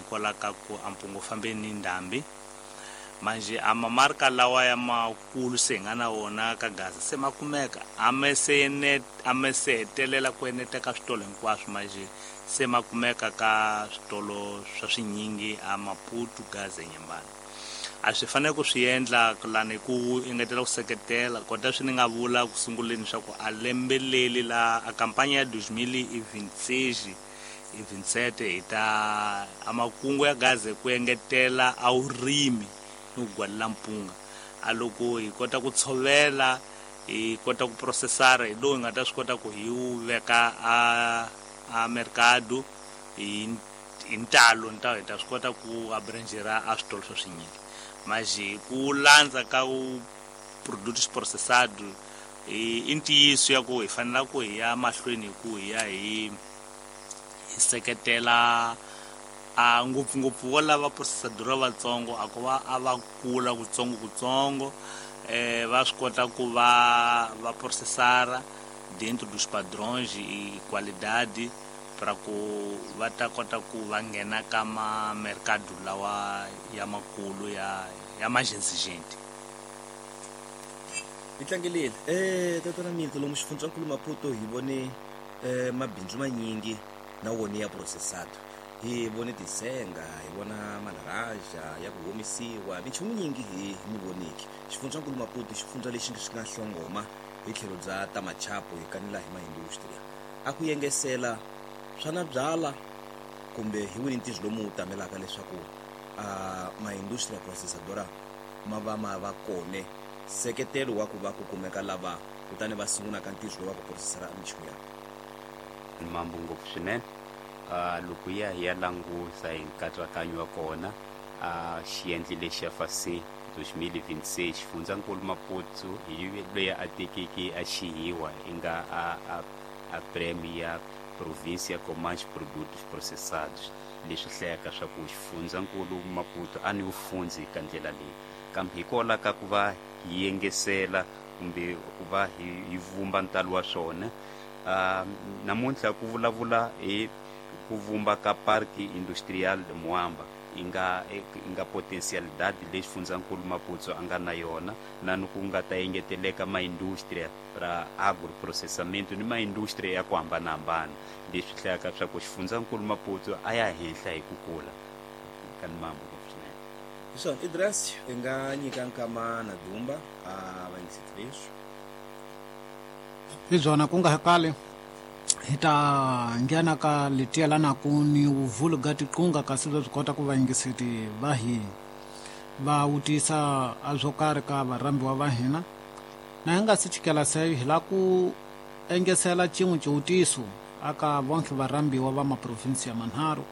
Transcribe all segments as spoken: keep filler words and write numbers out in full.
Hikwalaho ka ku a mpungu fambeni ni ndhambi. Manje a mamarka lawa ya makulu se hi nga na wona ka Gaza se ma kumeka, a me se ene a me se hetelela ku eneta ka switolo hinkwaswo, manje se ma kumeka ka switolo swa swinyingi a Maputo, Gaza, Nyambana. A swi fanele ku swi endla lani ku engetela ku seketela kota swi ni nga vula ku sunguleni swa ku a lembeleli la a kampanya ya dois mil e vinte e seis e vinte e sete hi ta a makungu ya Gaza ku engetela a vurimi ni ku gwalela mpunga. A loko hi kota ku tshovela, hi kota ku processara, hi lowu hi nga ta swi kota ku hi wu veka a a mercado hi hi ntalo, nta hi ta swi kota ku abrangera a switolo swa swinyingi. Mas ku landza ka u produtos processados i ntiyiso ya ku hi fanela ku hi ya mahlweni hi ku hi ya hi hi seketela a ngopfungopfu vo lava processadora vatsongo, a ku va a va kula kutsongo kutsongo, eh va swi kota ku va va processara dentro dos padrões e qualidade para ku va ta kota ku va nghena ka ma mercado lawa ya makulu ya ya mais exigente. Hi tlangelile eh tatana Milton, lomu xifundzankulu Maputo hi vone eh mabindzu manyingi na wona ya processado. Hi vone tisenga, hi vona malaraja ya ku omisiwa, minchumu nyingi hi mi voniki. Xifundzankulu Maputo xifundza lexi xi nga hlongoma hi tlhelo bya ta machapo hi kanela hi maindustria. A ku yengesela swa byala kumbe hi wini ntirho lomu wu tamelaka leswaku a maindustria processadora ma va ma va kone seketelo wa ku va ku kumeka lava kutani va sungula ka ntirho wa ku processara minchumu ya mambo ngopfu swinene. Uh, loko ya hi ya langusa hi nkatsakanyo wa kona a xiendli lexi xa F A C dois mil e vinte e seis, xifundzankulu Maputo hi loyi a tekeke a xihiwa i nga a a a prêmio ya província com mais produtos processados, leswi hlayaka swa ku xifundzankulu Maputo a ni wu fundzi ka ndlela leyi, kambe hikwalaho ka ku va hi yengesela kumbe ku va hi hi vumba ntalo wa swona. uh, namuntlha ku vulavula hi ku vumba ka Parque Industrial de Moamba i nga i nga potencialidade leyi xifundzankulu Maputo a nga na yona, na ni ku nga ta engeteleka maindustria ra agroprocessamento ni maindustria ya ku hambanahambana, leswi hlayaka swa ku xifundzankulu Maputo a ya henhla hi ku kula ka ni mambo ngopfu swinene. Hi swona, Idras, i nga nyika nkama na Dumba a va yingiseti leswi hi byona. Ku nga kale hi ta nghena ka leti yelanaku ni vuvulu ga tiqunga, kasi bya swi kota ku vayingiseti va hina va vutisa a swo karhi ka varhambiwa va hina. Na hi nga si chikela seyo, hi la ku engesela cin'we xivutiso aka vonke varhambiwa va maprovinsi ya manharhu.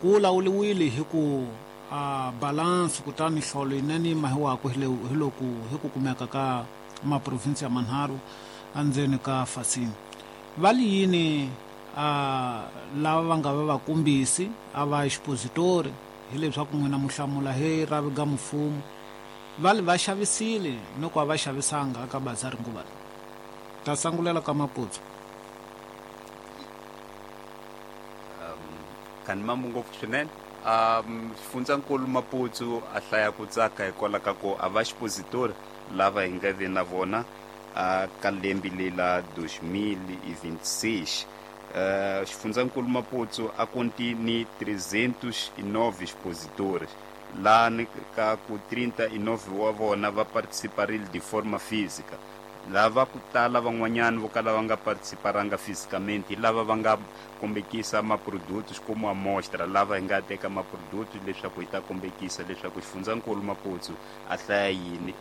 Ku lawuliwile hi ku a balance, kutani hlolo yinene yi mahiwaku hi loku hi ku kumeka ka maprovinsi ya manharhu endzeni ka fasini. Va li yini a lava va nga va vakumbisi a va expositori, hileswaku n'wina mu hlamula hi ravi ga mfumo, va li va xavisile ni ku a va xavisanga aka bazari nguva leyi? Ta sangulela ka Maputo. um, kani mambo ngopfu swinene. um xifundzankulu Maputo a hlaya ku tsaka hikwalaho ka ku a va expositori lava hi nga ve na vona a ka lembe lela dois mil e vinte e seis. Uh, xifundzankulu Maputo a konti ni trezentos e nove expositores, lá ni ka ku trinta e nove wa vona va participarile de forma física. Lava ku tala van'wanyana vo kala va nga participaranga fisicamente hi lava va nga kombekisa maprodutos como amostra, lava hi nga teka maprodutos leswaku hi ta kombekisa leswaku xifundzankulu Maputo a hlaya yini,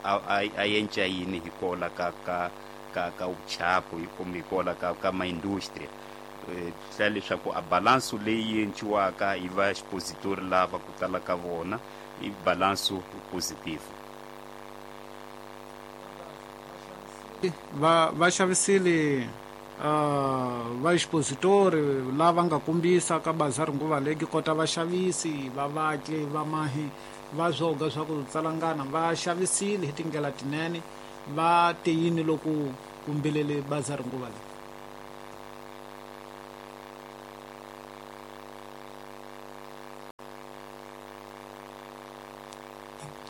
a a yenca yini hi kola ka ka ka ka vuchapo kumbe hi kola ka ka maindustria. Hlaya leswaku a balanso leyi enciwaka hi va expositori lava ku tala ka vona i balanso positive. Va va xavisile uh, va expositori lava nga kombisa ka bazari nguva leyi kota vaxavisi va vatli va mahi va swoga swa ku tsalangana va xavisile hi tindlela tinene, va te yini loko kumbelele bazari nguva leyi?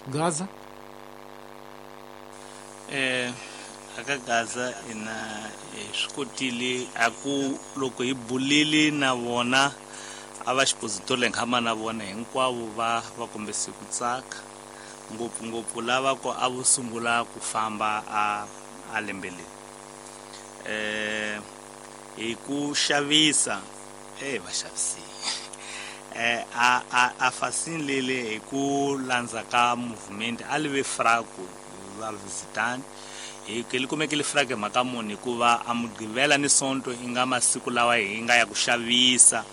Gaza eh aka Gaza ina swi kotile a ku loko hi bulile na vona a va expositor leyi na vona hinkwavo va va kombise ku tsaka ngopfungopfu lava ko a vo sungula ku famba a a lembe leri eh hi ku xavisa eh va xavisile eh a a a fasini lele hi ku landza ka movement a live fraku va visitani hi ke li kumekile frake mhaka muni hikuva a Mugqivela ni Sonto i nga masiku lawa hi nga ya ku xavisa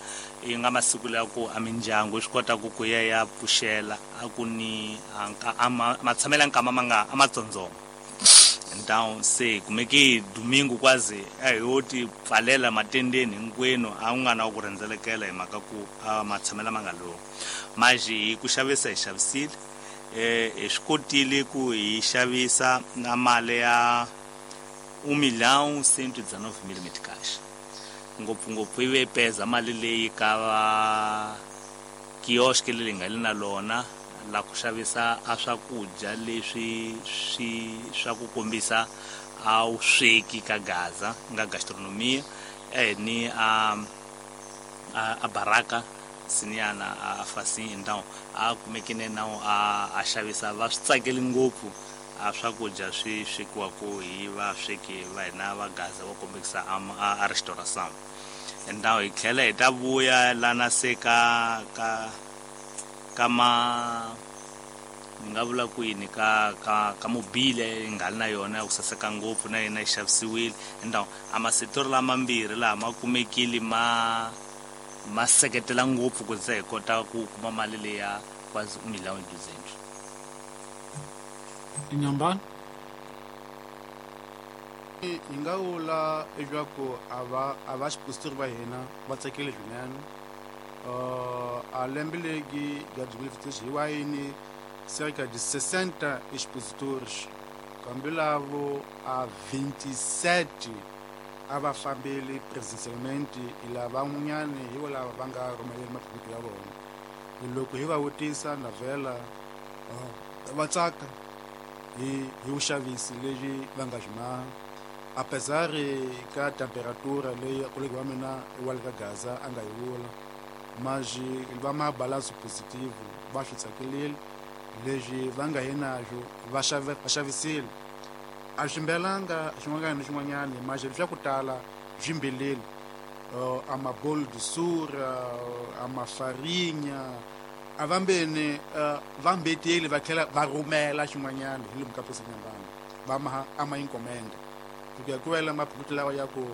i nga masiku lawa ku a mindyangu yi swi kota ku ku ya ya pfuxela a ku ni a matshamela nkama ma nga a matsondzoma então se kumeki domingo kwazi a hi ti pfalela matendeni hinkwenu a ku nga na ku rhendzelekela hi mhaka ku a matshamela ma nga lowu manje hi ku xavisa hi xavisile eh hi swi kotile ku hi xavisa na mali ya um milhão cento e dezenove mil meticais ngopfungopfu yi ve peza mali leyi ka va kiosk leyi nga le na lona la ku xavisa a swakudya leswi swi swa ku kombisa a wu sweki ka Gaza nga gastronomia eh ni a a baraka siniyana a fasini então a kumekene na a a xavisa va swi tsakeli ngopfu a swakudya swi swekiwaka hi vasweki va hina va Gaza va kombekisa a restauration então hi tlhela hi ta vuya lana se ka ka ka ma ni nga vula ku yini ka ka ka mobile yi nga ri na yona ya ku saseka ngopfu na yena yi xavisiwile então a masetori lamambirhi laha ma kumekile ma ma seketela ngopfu ku ze hi kota ku kuma mali leya quase um milhão e duzentos. Inhambane hi nga vula leswaku a va a va expositor va hina va tsakile swinene uh, a lembe legi ya dois mil e vinte e três hi wayini cerca de sessenta expositores kambe lavo a vinte e sete a va fambeli presencialmente hi lavan'wanyani hi vo lava va nga rhumeleli maphephe ya vona loko hi va vutisa na vhela va tsaka hi hi vuxavisi lebyi va nga byi maha apesar ka temperatura leyi kolegi wa mina wa le ka Gaza a nga yi vula mas va ma balanço positivo va swi tsakelile leswi va nga hi naxo va xave va xavisile a swi mbelanga xin'wanyana ni xin'wanyana mas swa ku tala swi mbelile uh, a mabolo de sura a mafarinha a vambeni uh, va mbeteli va tlhela va rhumela xin'wanyana hi lomu ka Nyambana va ma a ma encomenda ku ya ku wela maphephe lawa ya ku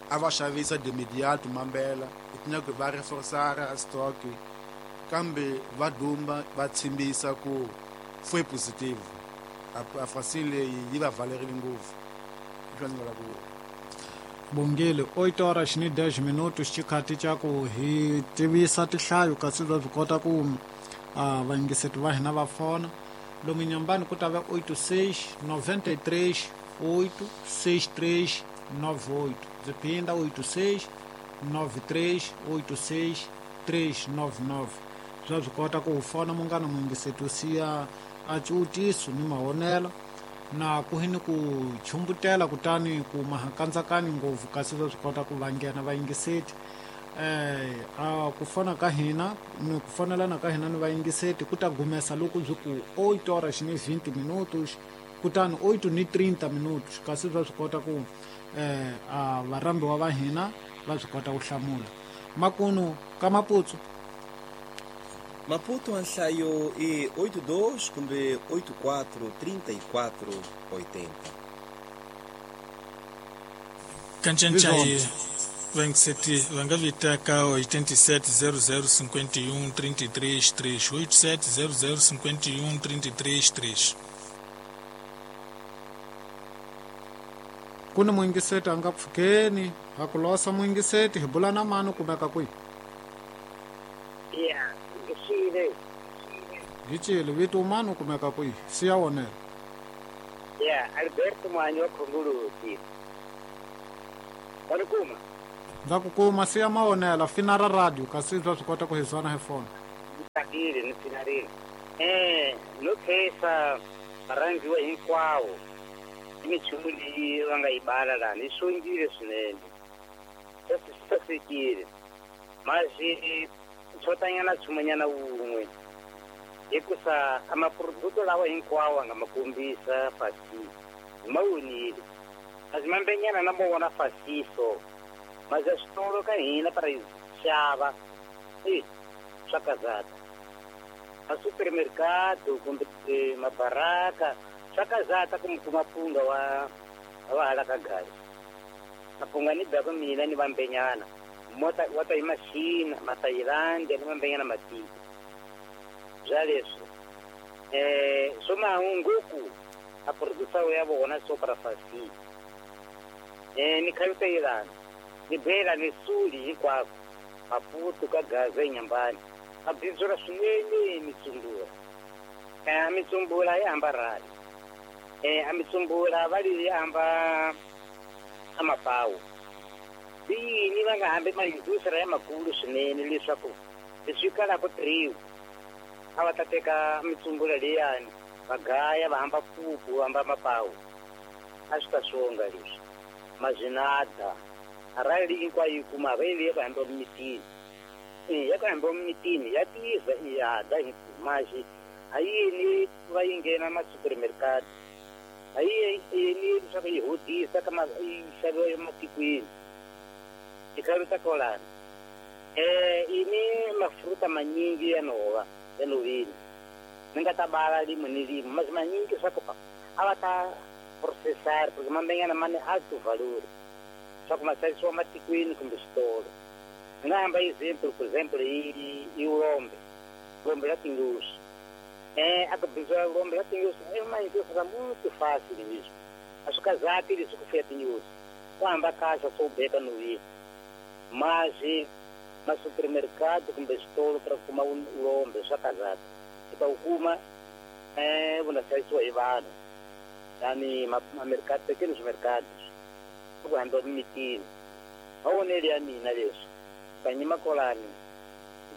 a va xavisa de imediato mambela ku va reforçar a stock kambe va dumba va tshimbisa ku foi positivo a fasini leyi yi va valerile ngopfu leswi ndzi nga la ku vula. Bongile oito horas ni dez minutos xikhathi xa ku hi tivisa tinhlayo kasi va swi kota ku uh, vayingiseti va hina va fona lomu Nyambani ku ta va oito seis noventa e três oito seis três nove oito ndzi phinda oito seis nove três oito seis três nove nove swa swi kota ku fona munghana muyingiseti u siya a ciutiso ni mahonelo na ku hini ku chumbutela kutani ku mahakandzakani ngopfu kasi swa swi kota ku va nghena vayingiseti eh a ku fona ka hina ni ku fonelana ka hina ni vayingiseti ku ta gumesa loko byi ku oito horas ni vinte minutos kutani oito ni trinta minutos kasi swa swi kota ku eh a varhambiwa va hina va swi kota ku hlamula makunu ka Maputo. Maputo a nhlayo i oito dois kumbe oito quatro trinta e quatro oitenta. Kancancayi vayingiseti va nga vita ka oitenta e sete zero zero cinquenta e um trinta e três três oito sete zero zero cinquenta e um trinta e três três. Ku ni muyingiseti a nga pfukeni ha ku losa muyingiseti hi bula na mani kumeka kwihi? Ya ngixile hi cile vito mani kumeka kwihi siya wonela. Ya Alberto Mwanyi wa Khongolosi wa ni kuma ndza ku kuma siya mawonela fina ra radio kasi swa swi kota ku hi zwana hi fona ni tsakile ni finarile. Eh no khensa varhandziwa hinkwavo i minchumu leyi va nga yi bala lani yi xongile swinene swi sasekile masi xotanyana nchumunyana wun'we hikusa a maproduto lawa hinkwawo a nga ma kombisa fasi hi ma vonile kasi mambenyana na mo fasiso mas a switolo ka hina para hi xava e swa kazata a supermercado kumbe mabaraka swa kazata ku mi kuma mpunga wa wa hala ka gari mapunga ni baka mina ni vambenyana mota wa ta hi machina mathailandi ni vambenyana matiko bya leswi eh swo mahunguku a produção ya vona swo para fasi eh ni khalutelana ni bela ni suli hinkwako Maputo ka Gaza eNyambani a bindzula swinene mitsumbula eh a mitsumbula yi hamba rali eh a mitsumbula va li hamba a mapawu yini va nga hambi maindustria ya makulu swinene leswaku leswi kalaka triwu a va ta teka mitsumbula leyani va gaya va hamba pupu va hamba mapawu a swi ta swonga leswi mazinada arali hinkwayo yi kuma va yi va hamba mitini ya ku hamba mitini ya tiza ya da maxi a yini va yi nghena ma supermercado a yi yini leswaku yi hodisa ka yi xaviwa ematikweni tikhalo ta kolana eh ini mafruta manyingi ya nhova ya nhoveni ni nga ta bala limwe ni limwe masi manyingi swa ku a va ta processar porque mambenyana ma ni alto valor swa ku ma xavisiwa matikweni kumbe switolo ni nga hamba example por exemplo i i ulombe ulombe la tinyosi eh a ku bindziwa ulombe la tinyosi é uma indústria muito fácil mesmo a swi kazati leswi ku fuya tinyosi ku hamba kahle swo beka novini mas ma supermercado kumbe switolo para kuma ulombe swa kazati i ta wu kuma eh vuna xavisiwa hi vanhu tani ma mercado pequenos mercados ku hamba mitini mavonelo ya mina leswi kanyima kolani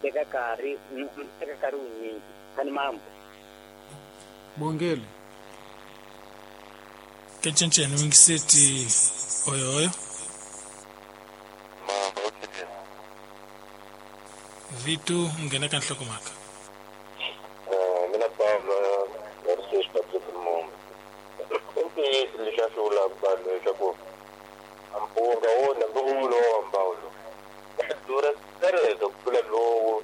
teka nkarhi teka nkarhi wunyingi kani mambo bongele kencenceni wingiseti oyoyo vitu nghena ka nhlokomhaka mina Pablo Narciso Patrick Mumba i ntiyiso leswi a swi vulaka vanhu leswaku mpunga wona lowu lowa mbawulo wa durha tereka ku tlula lowu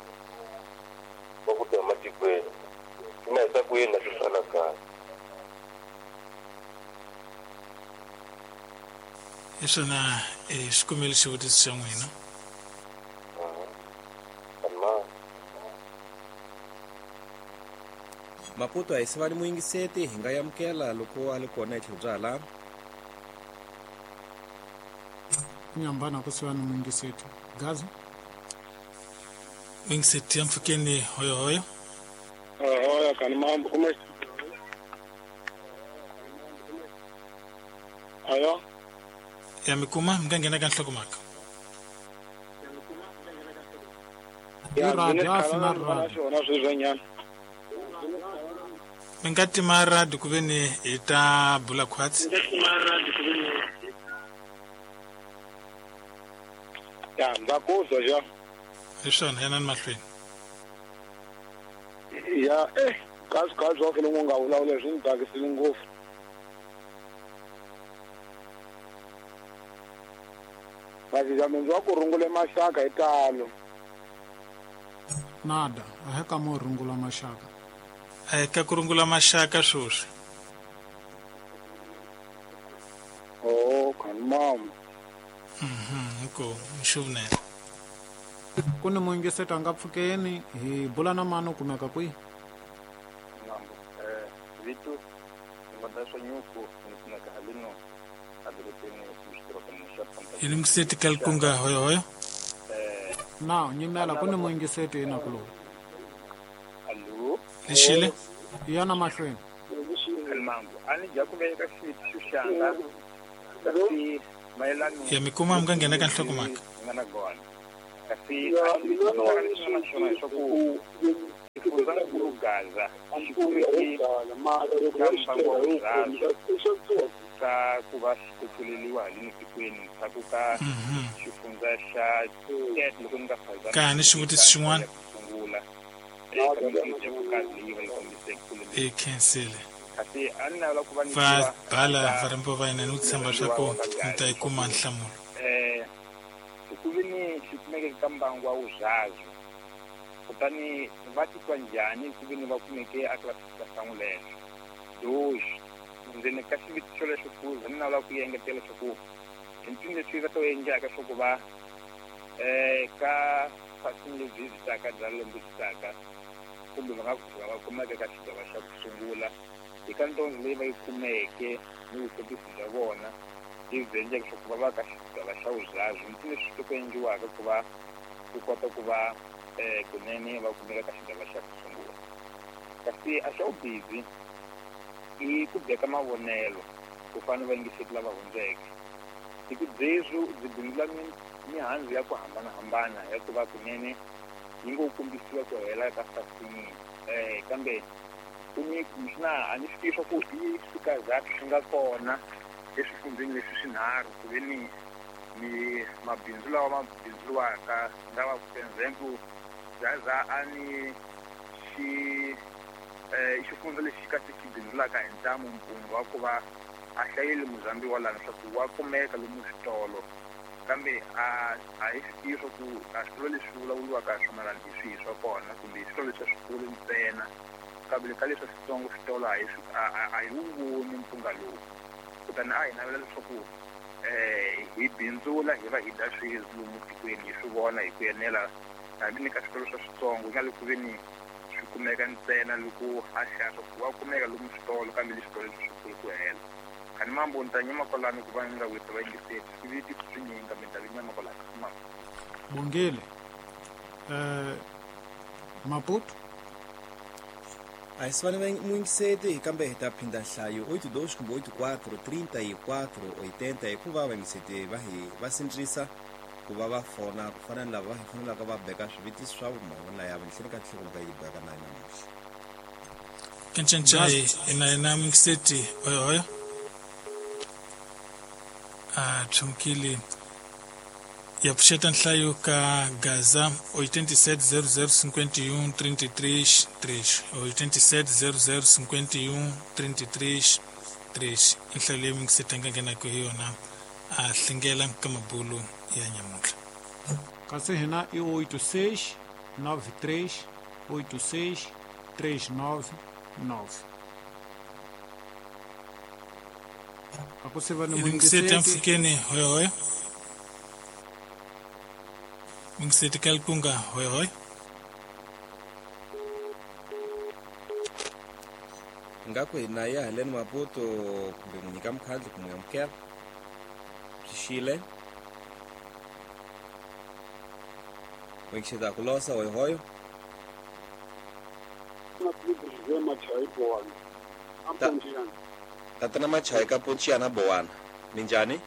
wa ku ta ematikweni swi ma hisa ku yini na swi fana kahle hi swona xikombelo xivutiso xa n'wina Maputo a hi sivani muyingiseti hi nga amukela loko a li kona hi tlhelo bya hala nyambana ku sivani muyingiseti Gaza muyingiseti ya mpfukeni hoyohoyo hoyo kani mambo kuma ayo ya mikuma mi nga nghena ka nhlokomhaka ya radio na radio sweswinyana mi nga tima radio ku ve ni hi ta bula khwatsi ya ndza ku zwa ja hi swona yanani mahlweni ya eh kasi kasi wa fele nga vulavula swi ni tsakisile ngopfu masi wa ku rungule maxaka hi talo nada a hi ka mo rungula maxaka a hi ka ku rungula maxaka sweswi oh kani mama mhm ko xuvunene ku ni muyingiseti a nga pfukeni hi bula na mani u kumeka kwihi mambo eh vitu ngada swa nyuku ni kumeka halino adorobeni hi lungiseti ka likunga hoyohoyo na nyimela ku ni muyingiseti ina ku lowu allo lexile yana mahlweni mambo a ni dya ku veka xivutiso xanga kasi mayelano ya mikuma mi nga nghena ka nhlokomhaka nga na gona kasi a ni na swona leswaku xifundzankulu Gaza xi kumeke ka ku va xi kuculeliwa haleni tikweni ndzhaku ka xifundza xa Tete loko ni nga phazami ka ni xivutiso xin'wana sungula eka mitirho ya vukazi leyi va yi kombiseke kule e khensile kasi a ni navela ku va ni va bala varhambiwa va hina ni ku tshemba swa ku mi ta yi kuma nhlamulo eh ku ve ni xi kumeke ka mbangu wa Uzazi kutani va titwa njhani ku ve ni va kumeke a classification lexo dois ndzeni ka xivutiso lexo fuza ni navela ku engetela leswaku i ncini leswi va ta endlaka swa ku va eh ka fasini lebyi byi taka bya lembe byi taka kumbe va nga kusuka va kumeka ka xigava xa ku sungula eka ntondo leyi va yi kumeke ni vukotisi bya vona lebyi byi endleke leswaku va va ka xigava xa Uzazi ncini leswi ku endliwaka ku va ku kota ku va eh kunene va kumeka ka xigava xa ku sungula kasi a xa vubizi i ku beka mavonelo ku fana va yingiseti lava hundzeke hi ku byezwi byi bindula mihandzu ya ku hambanahambana ya ku va kunene yi ngo kombisiwa ku hela ka fasini eh kambe ku ni kumbexana a ni swi tivi swa ku i swikazati swi nga kona eswifundzeni leswi swinharhu ku ve ni mi mabindzu lawa ma bindzuriwaka nga va for example Gaza a ni xi eh xifundza lexi kasi xi bindzulaka hi ntamu mpunga wa ku va a hlayeli muzambi wa lana swa ku wa kumeka lomu switolo kambe a a hi swi tivi swa ku a switolo leswi vulavuriwaka hi swona lani hi swihi swa kona kumbe switolo leswi swikulu ntsena kambe ka leswi switsongo switolo a hi a hi wu voni mpunga lowu kutani a hi navela leswaku eh hi bindzula hi va hi dya sweswi lomu tikweni hi swi vona hi ku enela hambi ni ka switolo swa switsongo nga le ku ve ni swi kumeka ntsena loko a xava ku wa kumeka lomu switolo kambe leswitolo leswi swikulu ku hela kani mambo ni ta nyima kwalano ku va ni nga wisa va yingiseti swivitiso swinyingi kambe ni ta vi nyama kwalano mama bongile eh Maputo a hi sivane muyingiseti kambe hi ta phinda nhlayo oito dois kumbe oito quatro trinta e quatro oitenta hikuva vayingiseti va hi va sindzisa ku va va fona ku fana ni lava va hi fanelaka va beka swivutiso swa mavona ya nhleni ka nhlokomhaka yi beka na namuntlha kencencai ina ina muyingiseti oyoyo a tshumkile ya pfuxeta nhlayo ka Gaza oitenta e sete zero zero cinquenta e um trinta e três três oitenta e sete zero zero cinquenta e um trinta e três três nhlayo leyi muyingiseti a nga nghenaka hi yona a hlengela ka mabulu ya nyamuntlha kasi hina i oito seis nove três oito seis três nove nove a ku siva ni muyingiseti amfukeni hoyohoyo muyingiseti ka likunga hoyohoyo ngaku hina ya haleni Maputo kumbe n'wi nyika mukhandlu kumbe amukela xixile muyingiseti ku losa hoyohoyo tatana Machai ka Ponchiana Bowana minjhani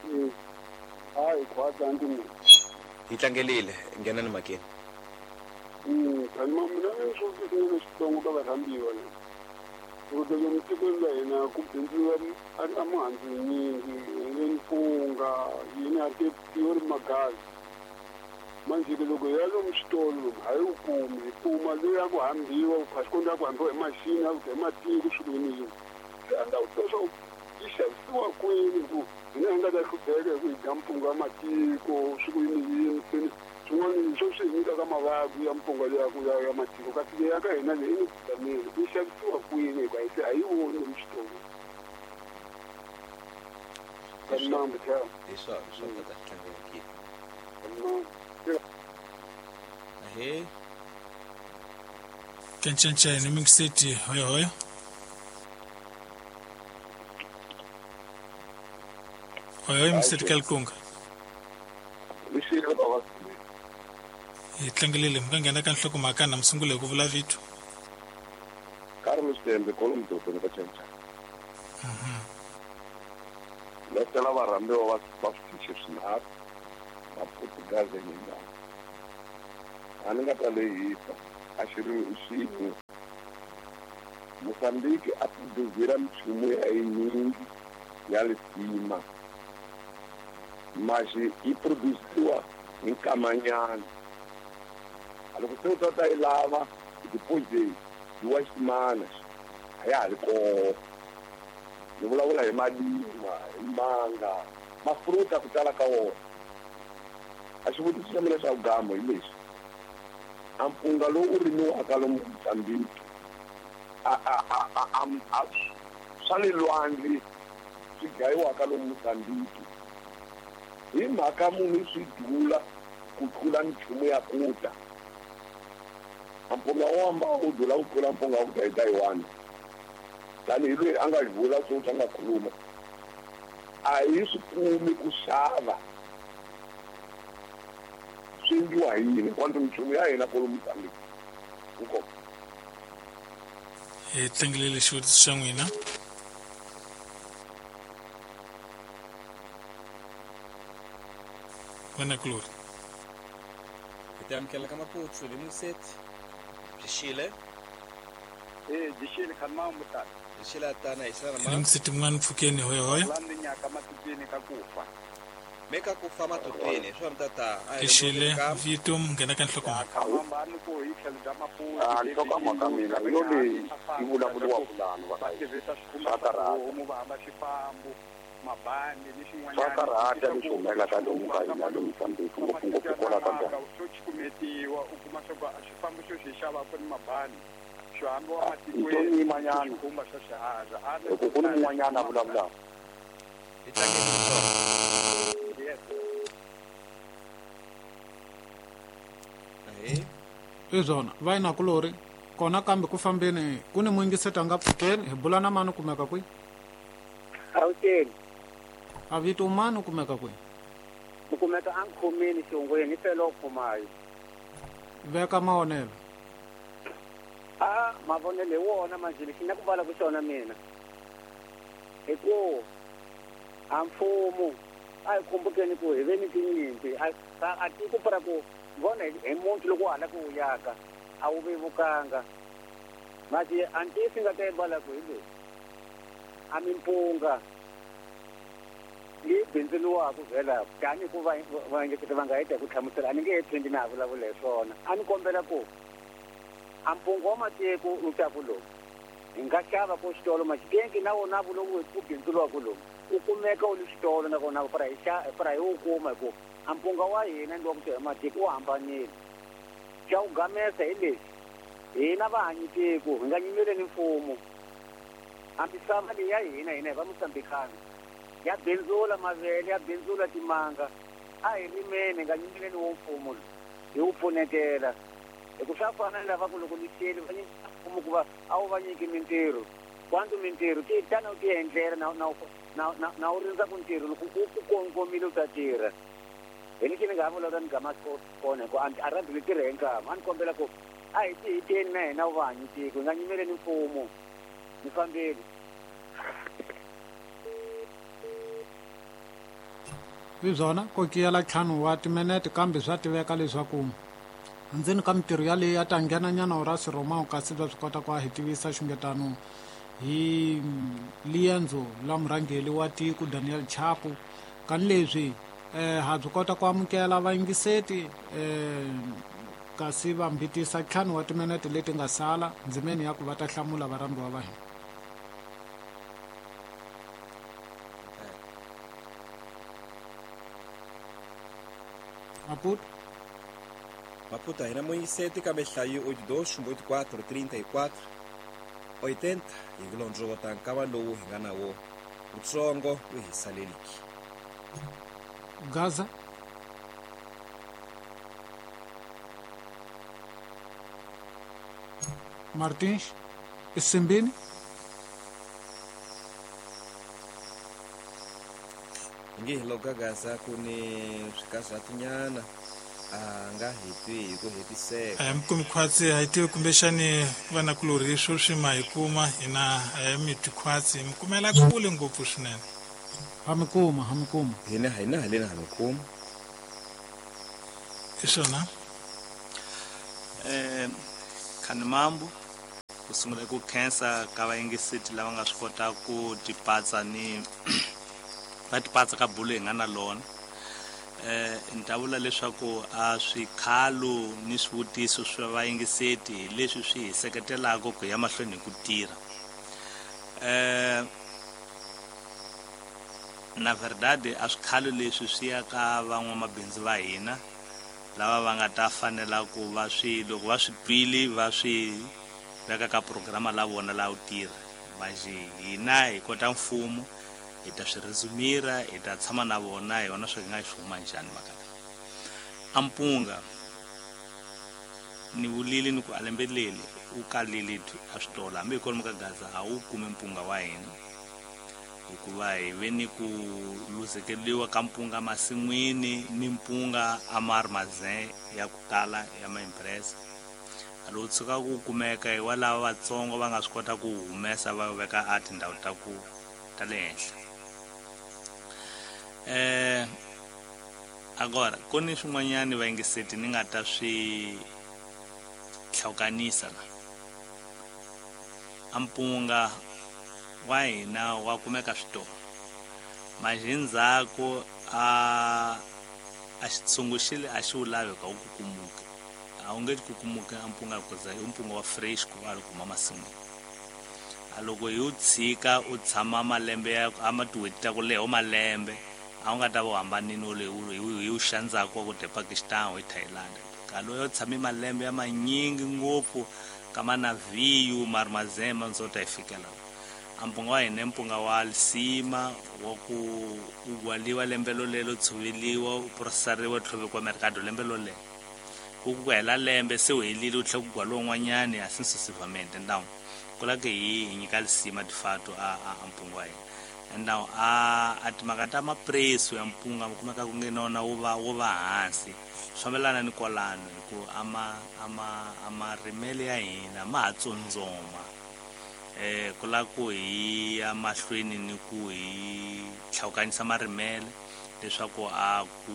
hayi khwatsa ndimi hi tlangelile nghena ni makeni mm tani mina ni swo swi xitsongo ka varhambiwa le loko lomu tikweni la hina ku bindziwa a mihandzu yinyingi le mpunga yini a ti ri magazi manje ke loko ya lomu xitolo lomu a yi wu kumi hi kuma leyi ya ku hambiwa kasi ya ku hambiwa hi machini ya ku hi matiko swi yini yini se a ni ta ku tiva swa ku yi xavisiwa kwini hi ku hina hi nga ta hlupheka hi ku hi dya mpunga wa matiko swi ku yini yini se swin'wana swo swi hi nyikaka mavabyi ya mpunga leya ku ya ya matiko kasi leyi ya ka hina leyi ni vitamini yi xavisiwa kwini hikuva hi se a yi voni lomu xitolo kanambe hi swona swa tata tlangekile ahe kencencai ni muyingiseti hoyohoyo hoyohoyo muyingiseti ka likunga hi tlangelile mi nga nghena ka nhlokomhaka na mi sungule hi ku vula vito Carlos Tembe Kolomtoto ni ka Chencha letela varhambiwa va va switichi swinharhu Maputo Gaza Nyenyana a ni nga ta lehisa a xi ri xin'we Mozambique a produzira michumu ya yinyingi ya lisima mas yi produziwa hi nkamanyana loko se u ta ta yi lava depois de duas semanas a ya ha ri koho ni vulavula hi malima hi manga mafruta ku tala ka wona a xivutiso xa mina xa vugamo hi lexi a mpunga lowu u rimiwaka lomu Mozambique a a a a a swa le lwandle swi gayiwaka lomu Mozambique hi mhaka munhu swi dula ku tlula michumu ya ku ta a mpunga wo hamba wu dula ku tlula mpunga wa ku ta hi Taiwan tanihi loyi a nga vula swo a nga khuluma a hi swi kumi ku xava swi endliwa hi yini kwanto michumu ya hina kwalomu Mozambique inkomu hi tlangelele xivutiso xa n'wina vana kulori hi ta amukela ka Maputo le Museti byi xile e byi xile khani tata byi xile tana hi xana ma Museti mun'wana pfukeni hoyohoyo landi nyaka matutini ka kufa me ka kufa matutini swa mtata hi xile vito nghena ka nhlokomhaka hambani ku hi tlhelo bya Maputo a nhlokomhaka mina hi yo leyi yi vulavuriwaka lani va tirhisa swikhumba swa va hamba xifambo mabandi ni xin'wanyana swa karhata leswi humelelaka lomu ka hina lomu Mozambique ngopfungopfu kwala ka ndhawu xo cukumetiwa u kuma swa ku xifambo xo xi xavaka ni mabandi xo hambi wa matikweni yimanyana xikhumba xa xihaza loko ku ni mun'wanyana a vulavulaka hi tlangeni swona i swona va yina kulori kona kambe ku fambeni ku ni muyingiseti a nga pfukeni hi bula na mani u kumeka kwihi Gauteng a vito mani u kumeka kwihi u kumeka a nkhomeni xihungweni felo khumayo veka mavonelo a mavonelo hi wona manje lexi na ku vala ku xona mina hi ku a mfumo a hi khumbukeni ku hi ve ni tinyimpi a a tiko para ku vona hi muntu loko hala ku yaka a wu vevukanga manje a ntiyiso nga ta yi vala ku hi leswi a mimpunga leyi bindzuriwaka vhela tani ku va vaengeteri va nga heta hi ku hlamusela a ni nge he phindi na ha vulavula hi swona a ni kombela ku a mpunga wa matiko wu taku lomu hi nga xava ko xitolo maxitenki na wona lowu ku bindzuriwaka lomu u kumeka wu li xitolo nakona para hi xa para hi wu kuma hi ku a mpunga wa hina ni wa ku tirha matiko wu hambanile xa ku gamesa hi lexi hina vahanyitiko hi nga nyimeleni mfumo a misava leyi ya hina hina hi va Mozambikana ya bindzula mavele ya bindzula timanga a hi rimeni hi nga nyimeleni wo mfumo lowu hi wu pfunetela hi ku swa fana ni lava ku loko lixeli va nyika mfumo ku va a wu va nyiki mintirho kwantu mintirho ti tana u ti endlela na na na na u rindza ku ntirho loko u ku kongomile u ta tirha hi lexi ni nga ha vulavula ni gama kona hi ku a rhandzi ni tirha hi nkama a ni kombela ku a hi ti hiteni na hina wu va hanyitiko hi nga nyimeleni mfumo ni fambeli hi byona ko kiyela ntlhanu wa timinete kambe swa tiveka leswaku ndzeni ka mintirho yaleyo ya ta nghenanyana ra Siromao kasi bya swi kota ku a hi tivisa xungetano hi liendzo la murhangeri wa tiko Daniel Chapo kani leswi eh ha byi kota ku amukela vayingiseti eh kasi va mbitisa ntlhanu wa timinete leti nga sala ndzimeni ya ku va ta hlamula varhambiwa va hina Maputo Maputo hina muyingiseti kambe nhlayo oito dois oito quatro trinta e quatro oitenta hi ku londzovota nkava lowu hi nga na wo wutsongo wu hi saleliki Gaza Martins Isimbini nge hi loko Gaza ku ni swikazatinyana a nga hi twi hi ku hetiseka a mi kumi khwatsi a hi tivi kumbexani vanakulorhi sweswi ma hi kuma hina a hi mi twi khwatsi mi kumela kule ngopfu swinene ha mi kuma ha mi kuma hina hina haleni ha mi kuma i swona eh Khanimambu Ku sungula ku khensa ka vayingiseti lava nga swi kota ku tipatsa ni va tipatsa ka bulo hi nga na lona. Eh ni ta vula leswaku a swikhalo ni swivutiso swa vayingiseti hi leswi swi hi seketelaka ku ya mahlweni hi ku tirha. Eh na verdade a swikhalo leswi swi ya ka van'wamabindzu va hina lava va nga ta fanela ku va swi loko va swi twile va swi veka ka programa la vona la u tirha. Manje hina hi kota mfumo hi ta swi resumira, hi ta tshama na vona hi vona swi nga swi huma njhani mhaka leyi. A mpunga ni vulile ni ku alembeleli u kalile a switolo hambi hi kwalomu ka Gaza a wu kumi mpunga wa hina hikuva hi ve ni ku luzekeriwa ka mpunga masin'wini ni mpunga a ma ri maze ya ku tala ya maimpresa. A lowu tshuka ku kumeka hi wa lava vatsongo va nga swi kota ku humesa va veka a tindhawu ta ku ta le henhla. Eh agora ku ni swin'wanyani vayingiseti ni nga ta swi hlawukanisa la. A mpunga wa hina wa kumeka switolo manje ndzhaku a a xitshungu xi le a xi wu lavi ka wu kukumuka. A wu nge kukumuki a mpunga ku za i mpunga wa fresh ku va ri kuma masin'wini. A loko hi wu tshika u tshama malembe ya a ma tin'hweti ta ku leha malembe a wu nga ta va u hambanini wo hi wu xandzaka wa ku dya Pakistan hi Thailand. Ka loyo tshame malembe ya manyingi ngopfu ka manaviyu marmazema ndzo ta hi fikela. A mpunga wa hina i mpunga wa lisima wa ku u gwaliwa lembe lolelo tshoveliwa u processariwa tlhovekiwa mercado lembe lolelo. Ku ku hela lembe se u helile u tlhela ku gwaliwa un'wanyani a successivamente. Now ku la ke hi hi nyika lisima de fato a a mpunga wa hina. Now a a timhaka ta mapreço ya mpunga mi kumeka ku nge nona wu va wu va hansi swi fambelana ni kwalano hi ku a ma a ma a marimele ya hina ma ha tsondzoma. Eh ku la ku hi ya mahlweni ni ku hi hlawukanisa marimele leswaku a ku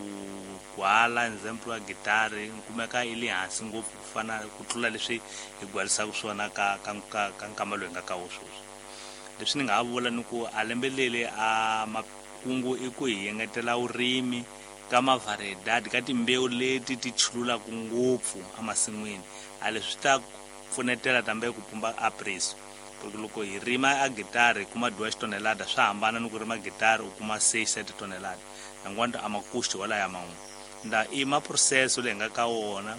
gwala example wa gitari kumeka i le hansi ngopfu ku fana ku tlula leswi hi gwalisaka swona ka ka ka ka nkama lowu hi nga ka wo sweswi. Leswi ni nga ha vula ni ku a lembe leri a makungu i ku hi engetela vurimi ka mavariedad ka timbewu leti ti chululaka ngopfu emasin'wini. A leswi swi ta pfunetela tambe ku pumba a preço. Porque loko hi rima a gitari hi kuma duas tonelada swa hambana ni ku rima gitari u kuma seis sete tonelada enquanto a makuxi wala ya man'we. Nda i ma processo leyi nga ka wona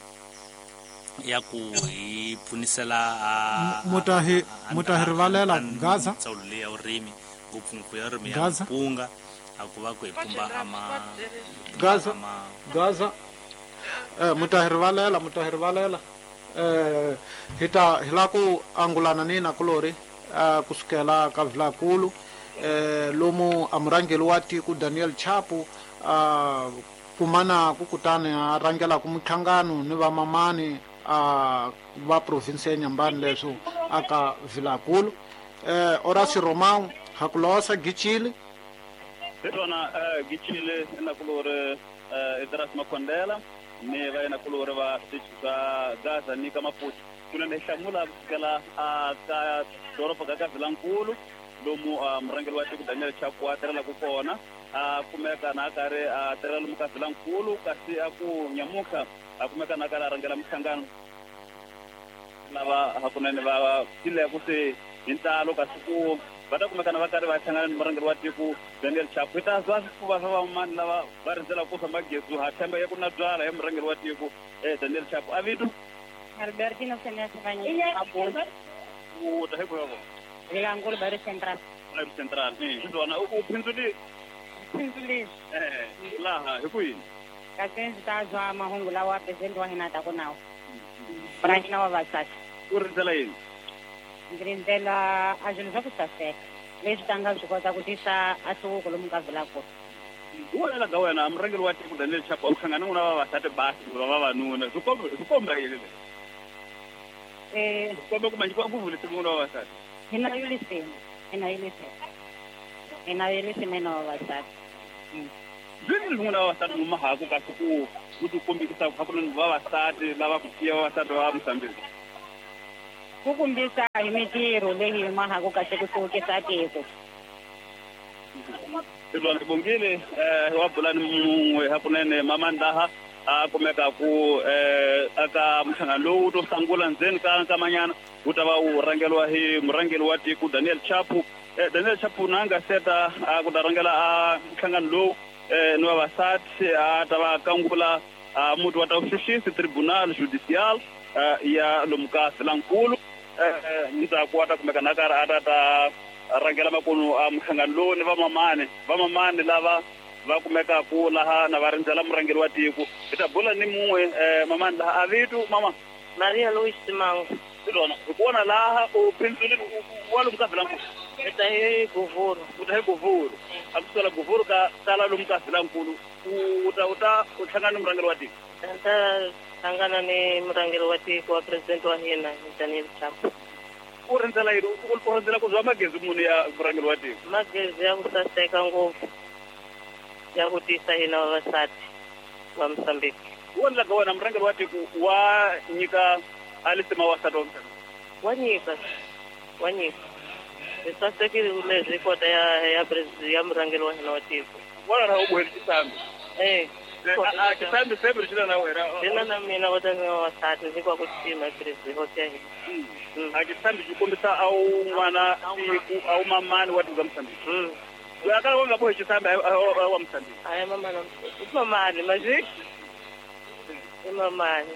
ya ku hi pfunisela a mutahi mutahi rivalela Gaza ndzawulo leyi ya vurimi ngopfungopfu ya vurimi ya mpunga a ku va ku hi pumba ama Gaza Gaza eh mutahi rivalela mutahi rivalela eh hi ta hi la ku angulana ni na kulori eh kusukela ka Vilakulu eh lomu a murhangeri wa tiko Daniel Chapo a kumana ku kutani a rhangela ku muhlangano ni vamamani a va province ya Nyambani leswo aka Vilakulu. Eh Horacio Romão hakulosa Gichile Rona Gichile na kulori Idras Makondela ni va yena kulori va switichi swa Gaza ni ka Maputo kunene hlamula kusukela a ka doroba ka ka Vilankulu lomu murhangeri wa tiko Daniel Chapo a tirhelaka kona a kumeka na a karhi a tirhela lomu ka Vilankulu kasi a ku nyamuka a kumeka na a karhi a rhangela mihlangano lava hakunene va tileko se hi ntalo kasi ku va ta kumekana va karhi va hlangana ni murhangeri wa tiko Daniel Chapo. Hi ta zwa swifuva swa vamani lava va rindzelaka ku famba gezu ha tshemba ya ku na byala ya murhangeri wa tiko Daniel Chapo. A vito Albertino Senesi Vanyi. U ta hi ku yoko Vilankulu Bairro Central. Bairro Central. Eh, xiswona u phindzuli Phindzuli. Eh, laha hi ku yini? Kasi ndzi ta zwa mahungu lawa president wa hina ta ku nawo. Murhangeri wa vavasati. U rindzela yini? Ndzi rindzela a swilo swa ku saseka leswi ta nga swi kota ku tisa a nhluvuko lomu ka Vilakulu. Hi vonela ka wena murhangeri wa tiko Daniel Chapo u hlangana n'wina vavasati basi va vavanuna swi komba swi komba yini leswi? Eh, swi komba ku manjhe ku vulise n'wina vavasati. Hi na yolisima, hi na yolisima. Hi na yolisima hina vavasati. Byi n'wina vavasati mi mahaku kasi ku ku ti kombisa hakunene vavasati lava ku tiya vavasati va Mozambique. Ku kombisa hi mitirho leyi hi mahaku kahle ku hluvukisa tiko. Hi bongile eh wa bulani mun'we hakunene mamandaha a kumeka ku eh aka mhlangano lowu to sangula ndzeni ka nkamanyana wu ta va wu rhangeriwa hi murhangeri wa tiko Daniel Chapo. eh, Daniel Chapo na nga seta a ku ta rhangela a nhlangano lowu eh ni vavasati a ta va kangula a muti wa ta vuxuxisi tribunal judicial ya lomu ka Vilankulu. Eh ndzhaku wa ta kumeka na karhi a ta ta rhangela makunu a mhlangano lowu ni vamamani vamamani lava va kumeka ku laha na va rindzela murhangeri wa tiko. Hi ta bula ni mun'we eh mamani laha a vito mama Maria Louise Simango. Silona hi ku vona laha u phindzulile wa lomu ka Vilankulu. Hi ta hi Govuru. U ta hi Govuru. A kusukela Govuru ka tala lomu ka Vilankulu u ta u ta u hlangana ni murhangeri wa tiko. Ta hlangana ni murhangeri wa tiko wa president wa hina Daniel Chapo. U rindzela yini? U rindzela ku zwa magezi muni ya murhangeri wa tiko? Magezi ya ku saseka ngopfu ya ku tisa hina vavasati va Mozambique. U endla ka wena murhangeri wa tiko wa nyika alisema wasati wa Mozambique? Wa nyika, wa nyika. Hi sasekile leswi kota ya ya ya murhangeri wa hina wa tiko. Wona ra u bohele xisambi? Eh. A xisambi sembe xi na wena? Xi na na mina kota ni vavasati ndzi kwa ku xixima president ya hina. A xisambi xi kombisa a wu n'wana tiko a wu mamani wa tiko ra Mozambique. Loyi a kala wa nga bohi xisambi a wa Mozambique. A ya mamani, i mamani mazi? I mamani.